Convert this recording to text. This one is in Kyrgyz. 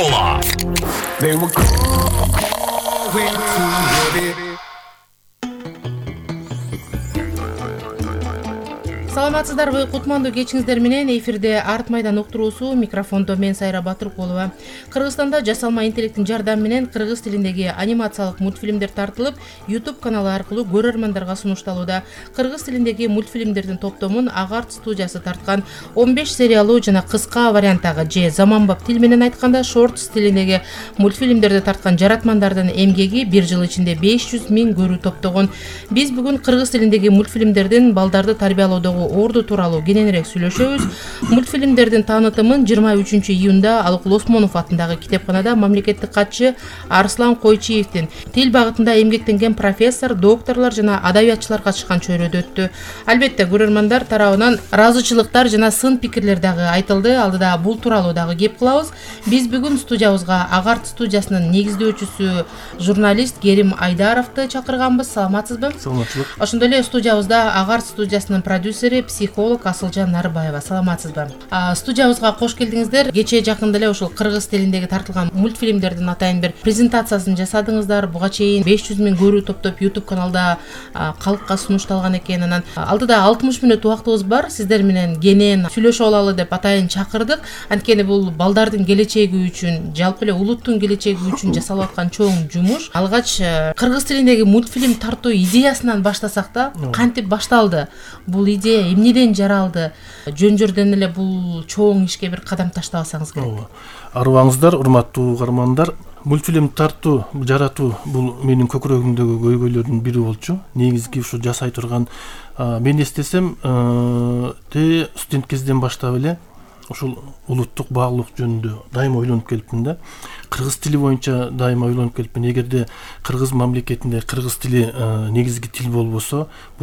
школа. They were going to heavy. Саламатсыздарбы, кутмандуу кечиңиздер менен эфирде Арт майдан уктуруусу, микрофондо мен Сайра Батыркулова. Кыргызстанда жасалма интеллекттин жардамы менен кыргыз тилиндеги анимациялык мультфильмдер тартылып, YouTube каналы аркылуу көрөрмандарга сунушталууда. Кыргыз тилиндеги мультфильмдердин топтомун Агарт студиясы тарткан 15 сериялуу жана кыска варианттагы же заманбап тил менен айтканда шортс тилиндеги мультфильмдерди тарткан жаратмандардын эмгеги бир жыл ичинде 500 000 көрүү топтогон. Биз бүгүн кыргыз тилиндеги мультфильмдердин балдарды тарбиялоодогу орду тууралуу кененирээк сүйлөшөбүз. Мультфильмдердин таанытымын 23-июнда Алыкул Осмонов атындагы китепканада мамлекеттик катчы Арслан Койчиевдин тил багытында эмгектенген профессор, докторлор жана адабиятчылар катышкан чөйрөдө өттү. Албетте көрөрмандар тарабынан ыраазычылыктар жана сын пикирлер дагы айтылды. Алдыда бул тууралуу дагы кеп кылабыз. Биз бүгүн студиябызга Агарт студиясынын негиздөөчүсү журналист Керим Айдаровду чакырганбыз. Саламатсызбы? Саламатчылык. Ошондой эле студиябызда Агарт студиясынын продюсери, психолог Асылжан Нарыбаева. Саламатсызбы? Студиябызга кош келдиңиздер. Кечээ жакында эле ушул кыргыз тилиндеги тартылган мультфильмдердин атайын бир презентациясын жасадыңыздар. Буга чейин 500 000 көрүү топтоп YouTube каналда калкка сунушталган экен. Анан алдыда 60 мүнөт убактыбыз бар. Сиздер менен кенен сүйлөшүп алалы деп атайын чакырдык. Анткени бул балдардын келечеги үчүн, жалпы эле улуттун келечеги үчүн жасалып аткан чоң жумуш. Алгач кыргыз тилиндеги мультфильм тартуу идеясынан баштасак да, кантип башталды? Бул идея эмнеден жаралды? Жөн-жөрдөн эле бул чоң ишке бир кадам таштабасаңыз керек. Арыбаңыздар, урматтуу угармандар. Мультфильм тартуу, жаратуу бул менин көкүрөгүмдөгү көйгөйлөрдүн бири болчу. Негизги ушу жасай турган мен эстесем, студент кезден баштап эле ушул улуттук баалуулук жөнүндө дайыма ойлонуп келипмин да. Кыргыз тили боюнча дайыма ойлонуп келипмин. Эгерде кыргыз мамлекетинде кыргыз тили негизги тил болбосо, бул